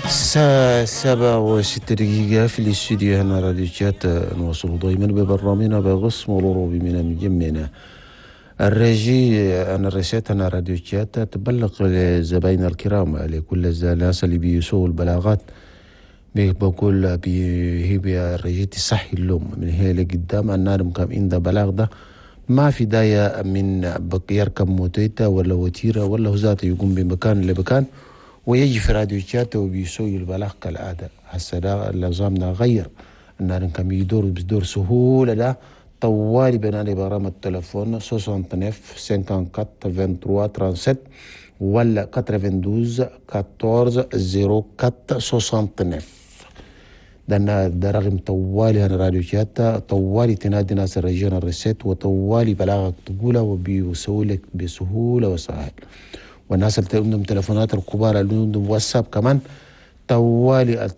الساعة 7:06 في الاستوديو هنا راديو تشات. نواصل دائما ببرنامجنا بقسم الأوروبي من مجمعنا ال régie. أنا الرسالة أنا راديو تشات تبلغ لزبايننا الكرام، لكل الناس اللي بيسووا البلاغات، بقول هي ال régie تصحي اللوم من هي لقدام. النار كم عند بلاغ ده ما في داية من يركب موتيتا ولا وتيرة ولا هو ذاته يقوم بمكان لمكان ويجي في راديو تشات وبيسوي البلاغ كالعادة. هسه ده النظام غير النار كم يدور بدور سهولة ده طوالي بنالي برامج التليفون 69 54 23 37 ولا 92 14 04 69. ده رقم طوالي هنا راديو تشات، طوالي تنادي ناس ال régie ال recette وطوالي بلاغك تقوله وبيسوي لك بسهولة وسهل. والناس اللي عندهم تليفونات الكبار اللي عندهم واتساب كمان طوالي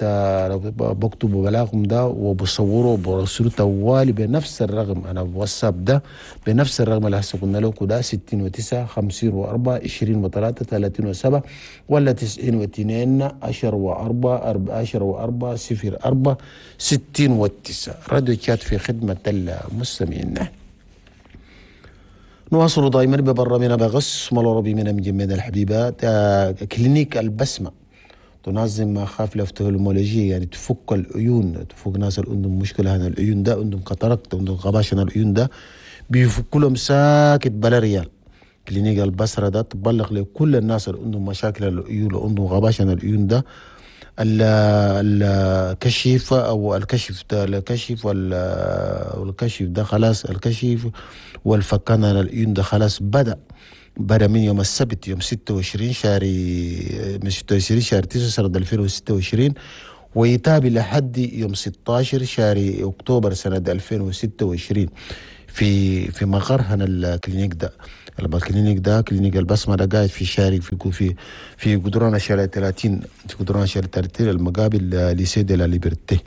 بكتبوا بلاغهم ده وبصوروا وبرسلوا طوالي بنفس الرقم. انا واتساب ده بنفس الرقم اللي هسه قلنا لكم ده 69 54 23 37 ولا 92 10 و4 10 و4 0 4 69. راديو تشات في خدمة المستمعين. نواصل دائما ببرنامجنا بغص العربي من مجمد الحبيبة. clinique البسمة تنظم حفلة ophtalmologie، يعني تفك العيون، تفك ناس اللي عندهم مشكلة هنا العيون ده، عندهم cataracte، عندهم غباش هنا العيون ده، بيفكوا لهم ساكت بلا ريال. clinique البصرة ده تبلغ لكل الناس اللي عندهم مشاكل العيون، اللي عندهم غباش هنا العيون ده، الكشف او الكشف ده، الكشف والكشف ده خلاص، الكشف والفكان على العيون ده خلاص بدأ من يوم السبت يوم 26 شهر، من 26 شهر 9 سنة 2026 ويتابع لحد يوم 16 شهر اكتوبر سنة 2026 في مقر هنا ال clinique ده. ال clinique ده clinique البسمة ده قاعد في شارع في في في قدران شارع 30، في قدران شارع 30 المقابل lycée de la Liberté.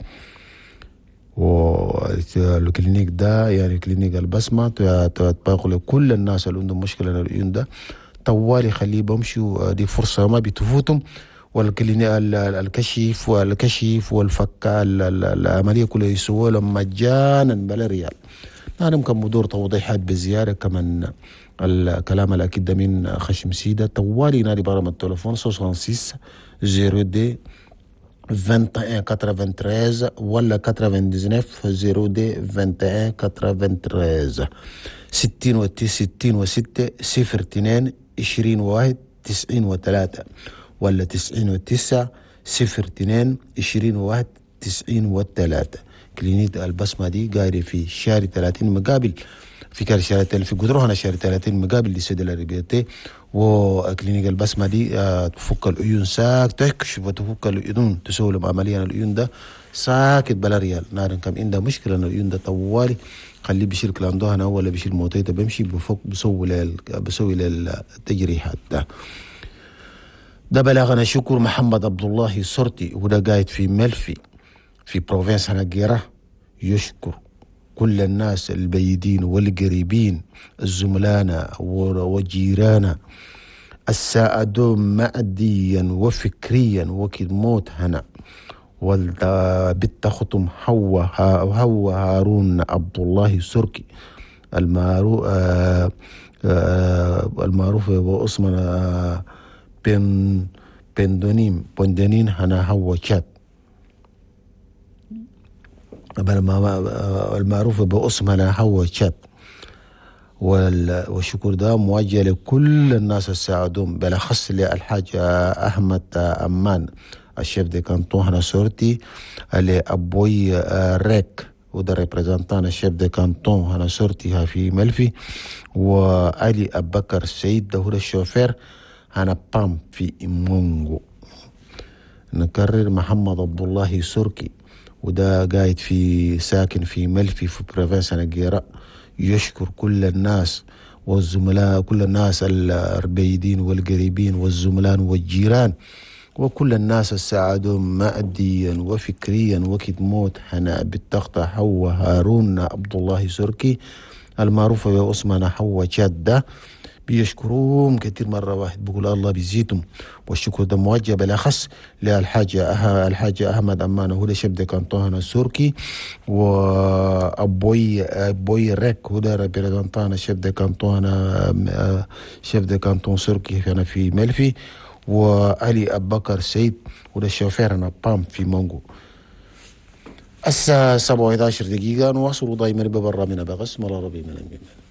وال clinique ده يعني clinique البسمة تباقي لكل الناس اللي عندهم مشكلة العيون ده طوالي خليه بمشوا، دي فرصة ما بتفوتهم. وال clinique الكشف والكشف والفك العملية كلها يسووا لهم مجانا بلا ريال. أنا ممكن بدور توضيحات بزيادة كمان الكلام الأكيد ده من خشم سيدة. طوالي نادي برام التليفون 66 02 21 93 ولا 99 02 21 93 66 02 21 93 ولا 99 02 21 93. clinique البسمة دي قاعدة في شارع 30 مقابل في كار شارع 30 في قدروها شارع 30 مقابل lycée de la Liberté. و clinique البسمة دي تفك العيون ساك، تكشف وتفك العيون، تسوي لهم عملية العيون ده ساكت بلا ريال. نار كم عنده مشكلة العيون ده طوالي خليه بيشيل كلاندو هنا ولا بيشيل موتيته بيمشي بفك بسوي للتجريحات ده. ده بلاغنا شكر محمد عبد الله سرتي وده قاعد في ملفي في province هنجيرة، يشكر كل الناس البيدين والقريبين الزملانا وجيرانا الساعدوا ماديا وفكريا وكد موت هنا. والبت ختم هو هارون عبد الله سركي المعروف المعروف باسم بندونين هنا هو شات المعروف باسم هنا هو شات. والشكر ده موجه لكل الناس الساعدون بالاخص للحاج احمد امان ال chef de canton هنا سورتي، لابوي ريك وده représentant ال chef de canton هنا سورتي في ملفي، وعلي ابو بكر السيد ده هو الشوفير هنا بام في إيمونغو. نكرر محمد عبد الله سوركي وده قاعد في ساكن في ملفي في province نجيرة، يشكر كل الناس والزملاء، كل الناس البيدين والقريبين والزملاء والجيران وكل الناس الساعدوا ماديا وفكريا وكد موت هنا بالتخطى حوا هارون عبد الله سركي المعروف باسمنا حوا جدة بيشكروهم كثير. مرة واحد بقول الله بيزيدهم، والشكر ده موجه بالأخص للحاج أحمد أمانة، هو chef de canton هنا سوركي، وأبوي أبوي ريك هو ده représentant chef de canton هنا chef de canton سوركي هنا في ملفي، وعلي أبو بكر سيد وده الشوفير هنا بام في مونغو. الساعة 7:11 نواصل دائما ببرنامجنا بقسم العربي من الميمنة.